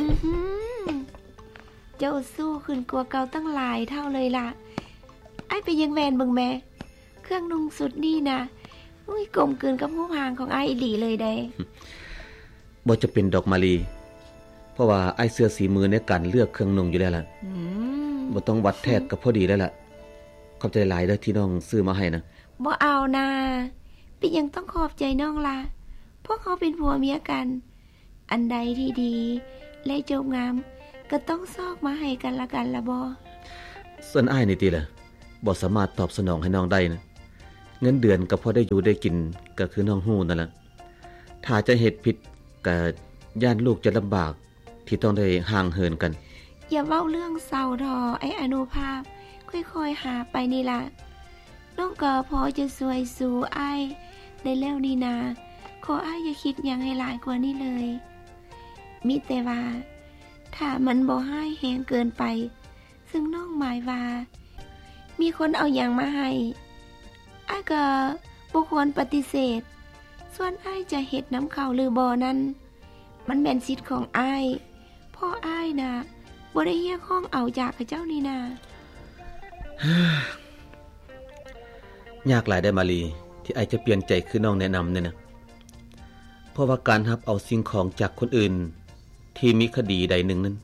ອືມ ເຈົ້າຊູ້ຂຶ້ນກວ່າເກົ່າຕັ້ງຫຼາຍເທົ່າເລີຍລະ. ອ້າຍໄປຢາກແວ່ນເບິ່ງແມ້ ເຄື່ອງນຸ່ງຊຸດນີ້ນະ ອຸ້ຍ ກົມກືນກັບຮູບຮ່າງຂອງອ້າຍອີ່ຫຼີເລີຍເດ້. ບໍ່ຈຳເປັນດອກມາລີ ເພາະວ່າອ້າຍເຊື່ອສີມືໃນການເລືອກເຄື່ອງນຸ່ງຢູ່ແລ້ວລະ. ອືມ ບໍ່ຕ້ອງວັດແທກກໍພໍດີແລ້ວລະ. ຂອບໃຈຫຼາຍເດີ້ທີ່ນ້ອງຊື້ມາໃຫ້ນະ. ບໍ່ເອົານາ. ເປັນຫຍັງຕ້ອງຂອບໃຈນ້ອງລະ? ພວກເຮົາເປັນຜົວເມຍກັນ ອັນໃດທີ່ດີ ແລະ ຈົບງາມ ກໍຕ້ອງຊອກມາໃຫ້ກັນລະກັນລະບໍ? ສ່ວນອ້າຍນີ້ຕິລະ ບໍ່ສາມາດຕອບສະໜອງໃຫ້ນ້ອງໄດ້ນະ. ເງິນເດືອນກໍພໍໄດ້ຢູ່ໄດ້ກິນ ກໍຄືນ້ອງຮູ້ນັ້ນລະ. ຖ້າຈະເຮັດຜິດ ກໍຢ້ານລູກຈະລຳບາກ ທີ່ຕ້ອງໄດ້ຫ່າງເຫີນກັນ. ຢ່າເວົ້າເລື່ອງເສົ້າເຖາະ ອ້າຍອະນຸພາບ, ຄ່ອຍໆຫາໄປນີ້ລະ. ນ້ອງກໍພໍຈະຊ່ວຍຊູອ້າຍໄດ້ແລ້ວນີ້ນາ. ຂໍອ້າຍຢ່າຄິດຫຍັງໃຫ້ຫຼາຍກວ່ານີ້ເລີຍ. ມີແຕ່ວ່າ ຖ້າມັນບໍ່ຮ້າຍແຮງເກີນໄປ, ເຊິ່ງນ້ອງໝາຍວ່າ ມີຄົນເອົາຫຍັງມາໃຫ້, ອ້າຍກໍບໍ່ຄວນປະຕິເສດ. ສ່ວນອ້າຍຈະເຮັດນຳເຂົາຫຼືບໍ່ນັ້ນ, ມັນແມ່ນສິດຂອງອ້າຍ, ເພາະອ້າຍນະ ບໍ່ໄດ້ຮຽກຮ້ອງເອົາຈາກເຂົາເຈົ້ານີ້ນາ. ຍາກຫຼາຍເດ້ມາລີ ທີ່ອ້າຍຈະປ່ຽນໃຈຄືນ້ອງແນະນຳນີ້ນະ. ເພາະວ່າການຮັບເອົາສິ່ງຂອງຈາກຄົນອື່ນທີ່ມີຄະດີໃດໜຶ່ງນັ້ນ,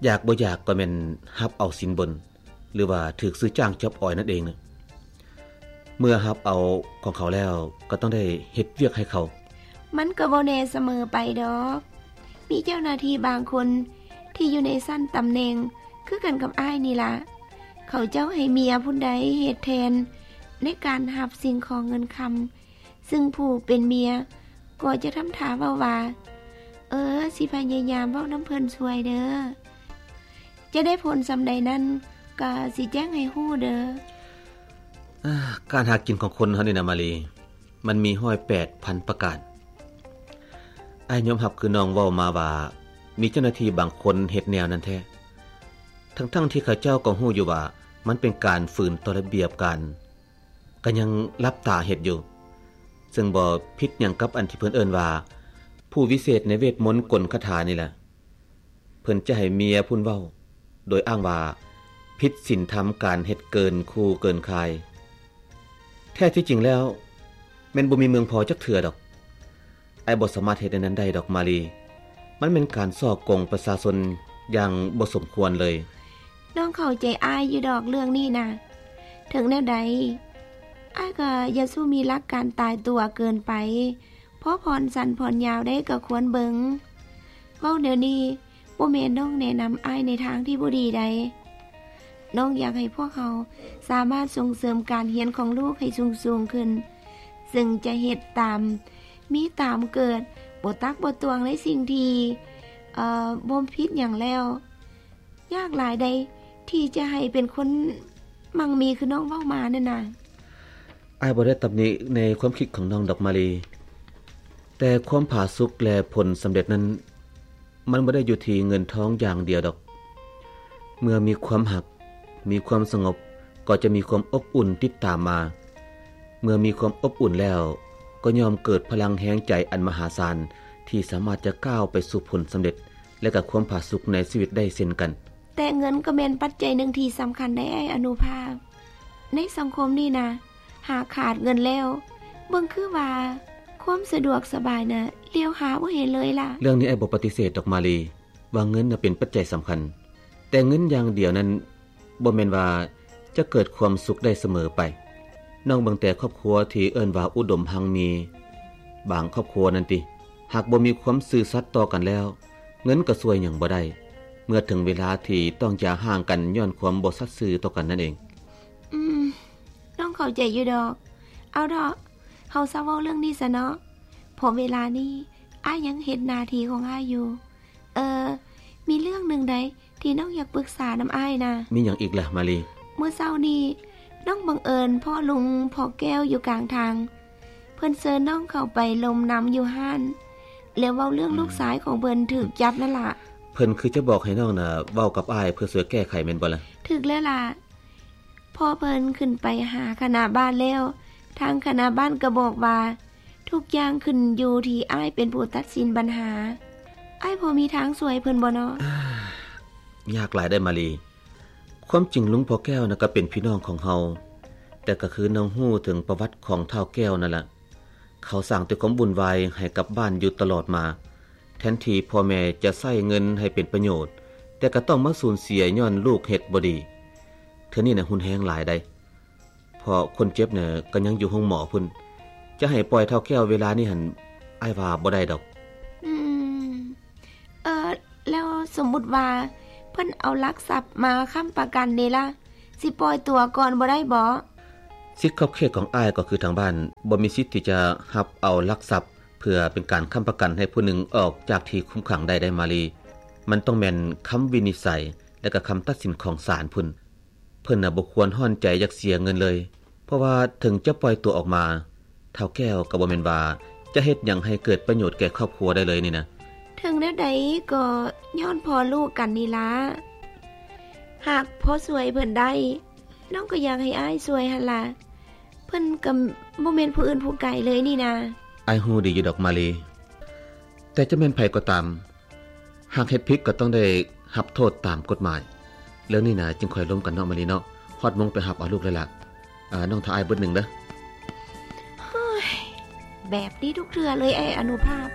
ຢາກບໍ່ຢາກກໍແມ່ນຮັບເອົາສິນບົນ ຫຼືວ່າຖືກຊື້ຈ້າງຈອບອອຍນັ້ນເອງນະ. ເມື່ອຮັບເອົາຂອງເຂົາແລ້ວ ກໍຕ້ອງໄດ້ເຮັດວຽກໃຫ້ເຂົາ. ມັນກໍບໍ່ແນ່ສະເໝີໄປດອກ. ມີເຈົ້າໜ້າທີ່ບາງຄົນທີ່ຢູ່ໃນຊັ້ນຕຳແໜ່ງຄືກັນກັບອ້າຍນີ້ລະ, ເຂົາເຈົ້າໃຫ້ເມຍຜູ້ໃດເຮັດແທນໃນການຮັບສິ່ງຂອງເງິນຄຳ, ຊຶ່ງຜູ້ເປັນເມຍກໍຈະທຳທ່າເວົ້າວ່າ, ເອີ, ຊິພະຍາຍາມເວົ້ານຳເພິ່ນຊ່ວຍເດີ້. ຈະໄດ້ຜົນສ່ຳໃດນັ້ນ ກໍຊິແຈ້ງໃຫ້ຮູ້ເດີ້. ອາ, ການຫາກິນຂອງຄົນເຮົານີ້ນະມາລີ, ມັນມີຮ້ອຍແປດພັນປະການ. ອ້າຍຍອມຮັບຄືນ້ອງເວົ້າມາວ່າ ມີເຈົ້າໜ້າທີ່ບາງຄົນເຮັດແນວນັ້ນແທ້, ທັງໆທີ່ເຂົາເຈົ້າກໍຮູ້ຢູ່ວ່າມັນເປັນການຝືນຕໍ່ລະບຽບການ, ກໍຍັງຫຼັບຕາເຮັດຢູ່. ເຊິ່ງບໍ່ຜິດຫຍັງກັບອັນທີ່ເພິ່ນເອີ້ນວ່າ ຜູ້ວິເສດໃນເວດມົນກົນຄາຖານີ້ແຫຼະ. ເພິ່ນຈະໃຫ້ເມຍພຸ້ນເວົ້າ ໂດຍອ້າງວ່າຜິດສິນທຳການເຮັດເກີນຄູ່ເກີນຄາຍ. ແທ້ທີ່ຈິງແລ້ວ ແມ່ນບໍ່ມີເມືອງພໍຈັກເທື່ອດອກ. ອ້າຍບໍ່ສາມາດເຮັດແນວນັ້ນໄດ້ດອກມາລີ. ມັນແມ່ນການສໍ້ໂກງປະຊາຊົນຢ່າງບໍ່ສົມຄວນເລີຍ. ນ້ອງເຂົ້າໃຈອ້າຍຢູ່ດອກເລື່ອງນີ້ນະ. ເຖິງແນວໃດ ອ້າຍກໍຢ່າສູ່ມີຫຼັກການຕາຍຕົວເກີນໄປ. ພໍຜ່ອນສັ້ນຜ່ອນຍາວໄດ້ກໍຄວນເບິ່ງ. ເວົ້າແນວນີ້ ບໍ່ແມ່ນນ້ອງແນະນຳອ້າຍໃນທາງທີ່ບໍ່ດີໃດ. ນ້ອງຢາກໃຫ້ພວກເຮົາສາມາດສົ່ງເສີມການຮຽນຂອງລູກໃຫ້ສູງໆຂຶ້ນ, ເຊິ່ງຈະເຮັດຕາມມີຕາມເກີດ, ບໍ່ຕັກບໍ່ຕວງໃນສິ່ງທີ່, ເອີ, ບໍ່ຜິດຫຍັງແລ້ວ. ຍາກຫຼາຍໃດທີ່ຈະໃຫ້ເປັນຄົນໝັ່ງມີຄືນ້ອງເວົ້າມານັ້ນນະ. ອ້າຍບໍ່ໄດ້ຕຳໜິໃນຄວາມຄິດຂອງນ້ອງດອກມາລີ, ແຕ່ຄວາມຜາສຸກ ແລະ ຜົນສຳເລັດນັ້ນ ມັນບໍ່ໄດ້ຢູ່ທີ່ເງິນທອງຢ່າງດຽວດອກ. ເມື່ອມີຄວາມຮັກ, ມີຄວາມສະຫງົບ, ກໍຈະມີຄວາມອົບອຸ່ນຕິດຕາມມາ. ເມື່ອມີຄວາມອົບອຸ່ນແລ້ວ, ກໍຍ່ອມເກີດພະລັງແຮງໃຈອັນມະຫາສານ ທີ່ສາມາດຈະກ້າວໄປສູ່ຜົນສຳເລັດ ແລະ ກໍຄວາມຜາສຸກໃນຊີວິດໄດ້ເຊັ່ນກັນ. ແຕ່ເງິນກໍແມ່ນປັດໄຈໜຶ່ງທີ່ສຳຄັນໃນອ້າຍອະນຸພາບ. ໃນສັງຄົມນີ້ນະ, ຫາກຂາດເງິນແລ້ວ, ເບິ່ງຄືວ່າຄວາມສະດວກສະບາຍນະ ຫຼຽວຫາບໍ່ເຫັນເລີຍລະ. ເລື່ອງນີ້ອ້າຍບໍ່ປະຕິເສດດອກມາລີ ວ່າເງິນນະເປັນປັດໄຈສຳຄັນ, ແຕ່ເງິນຢ່າງດຽວນັ້ນ ບໍ່ແມ່ນວ່າຈະເກີດຄວາມສຸກໄດ້ສະເໝີໄປ. ນ້ອງເບິ່ງແຕ່ຄອບຄົວທີ່ເອີ້ນວ່າອຸດົມຮັ່ງມີ, ບາງຄອບຄົວນັ້ນຕິ, ຫາກບໍ່ມີຄວາມຊື່ສັດຕໍ່ກັນແລ້ວ, ເງິນກໍຊ່ວຍຫຍັງບໍ່ໄດ້ ເມື່ອເຖິງເວລາທີ່ຕ້ອງຢ່າຮ້າງກັນຍ້ອນຄວາມບໍ່ສັດຊື່ຕໍ່ກັນນັ້ນເອງ. ອືມ, ນ້ອງເຂົ້າໃຈຢູ່ດອກ. ເອົາເຖາະ, ເຮົາເຊົາເວົ້າເລື່ອງນີ້ຊະເນາະ, ເພາະເວລານີ້ອ້າຍຍັງເຮັດໜ້າທີ່ຂອງອ້າຍຢູ່. ເອີ, ມີເລື່ອງໜຶ່ງໃດທີ່ນ້ອງຢາກປຶກສານຳອ້າຍນະ. ມີຫຍັງອີກລະມາລີ? ມື້ເຊົ້ານີ້ນ້ອງບັງເອີນພໍ້ລຸງພໍ່ແກ້ວຢູ່ກາງທາງ. ເພິ່ນເຊີນນ້ອງເຂົ້າໄປລົມນຳຢູ່ຮ້ານ ແລ້ວເວົ້າເລື່ອງ ອືມ ລູກຊາຍຂອງເພິ່ນຖືກຈັບນັ້ນລະ. ເພິ່ນຄືຈະບອກໃຫ້ນ້ອງນະເວົ້າກັບອ້າຍເພື່ອຊ່ວຍແກ້ໄຂແມ່ນບໍ່ລະ? ຖືກແລ້ວລະ. ພໍເພິ່ນຂຶ້ນໄປຫາຄະນະບ້ານແລ້ວ, ທາງຄະນະບ້ານກໍບອກວ່າ ທຸກຢ່າງຂຶ້ນຢູ່ທີ່ອ້າຍເປັນຜູ້ຕັດສິນບັນຫາ. ອ້າຍພໍມີທາງຊ່ວຍເພິ່ນບໍ່ເນາະ? ຍາກຫຼາຍໄດ໋ມາລີ. ຄວາມຈິງລຸງພໍ່ແກ້ວນະກໍເປັນພີ່ນ້ອງຂອງເຮົາ, ແຕ່ກໍຄືນ້ອງຮູ້ເຖິງປະຫວັດຂອງທ້າວແກ້ວນັ້ນລະ. ເຂົາສ້າງແຕ່ຄວາມວຸ່ນວາຍໃຫ້ກັບບ້ານຢູ່ຕະຫຼອດມາ. ແທນທີ່ພໍ່ແມ່ຈະໃຊ້ເງິນໃຫ້ເປັນປະໂຫຍດ, ແຕ່ກໍຕ້ອງມາສູນເສຍຍ້ອນລູກເຮັດບໍ່ດີ. ເທື່ອນີ້ນະຮຸນແຮງຫຼາຍໄດ໋. ເພາະຄົນເຈັບນະກໍຍັງຢູ່ໂຮງໝໍພຸ້ນ. ຈະໃຫ້ປ່ອຍທ້າວແກ້ວເວລານີ້ຫັ້ນ ອ້າຍວ່າບໍ່ໄດ້ດອກ. ອືມ ເອີ ແລ້ວສົມມຸດວ່າເພິ່ນເອົາຫຼັກຊັບມາຄ້ຳປະກັນເດລະ, ຊິປ່ອຍຕົວກ່ອນບໍ່ໄດ້ບໍ? ສິດຂອບເຂດຂອງອ້າຍກໍຄືທາງບ້ານບໍ່ມີສິດທີ່ຈະຮັບເອົາຫຼັກຊັບເພື່ອເປັນການຄ້ຳປະກັນໃຫ້ຜູ້ໜຶ່ງອອກຈາກທີ່ຄຸມຂັງໄດ້ໄດ໋ມາລີ. ມັນຕ້ອງແມ່ນຄຳວິນິດໄສ ແລະກໍຄຳຕັດສິນຂອງສານພຸ້ນ. ເພິ່ນນະບໍ່ຄວນຮ້ອນໃຈຢາກເສຍເງິນເລີຍ, ເພາະວ່າເຖິງຈະປ່ອຍຕົວອອກມາ, ທ້າວແກ້ວກໍບໍ່ແມ່ນວ່າຈະເຮັດຫຍັງໃຫ້ເກີດປະໂຫຍດແກ່ຄອບຄົວໄດ້ເລີຍນີ້ນະ. ເຖິງແນວໃດກໍຍ້ອນພໍ່ລູກກັນນີ້ລະ. ຫາກພໍຊ່ວຍເພິ່ນໄດ້, ນ້ອງກໍຢາກໃຫ້ອ້າຍຊ່ວຍຫັ້ນລະ. ເພິ່ນກໍບໍ່ແມ່ນຜູ້ອື່ນຜູ້ໄກເລີຍນີ້ນາ. ອ້າຍຮູ້ດີຢູ່ດອກມາລີ, ແຕ່ຈະແມ່ນໃຜກໍຕາມ, ຫາກເຮັດຜິດກໍຕ້ອງໄດ້ຮັບໂທດຕາມກົດໝາຍ. ເລື່ອງນີ້ນະຈຶ່ງຄ່ອຍລົມກັນເນາະມາລີເນາະ. ຮອດໂມງໄປຮັບເອົາລູກແລ້ວລະ. ອາ ນ້ອງຖ້າອ້າຍບຶດໜຶ່ງເດີ. ໂອ້ຍ ແບບນີ້ທຸກເທື່ອເລີຍອ້າຍອະນຸພາບ.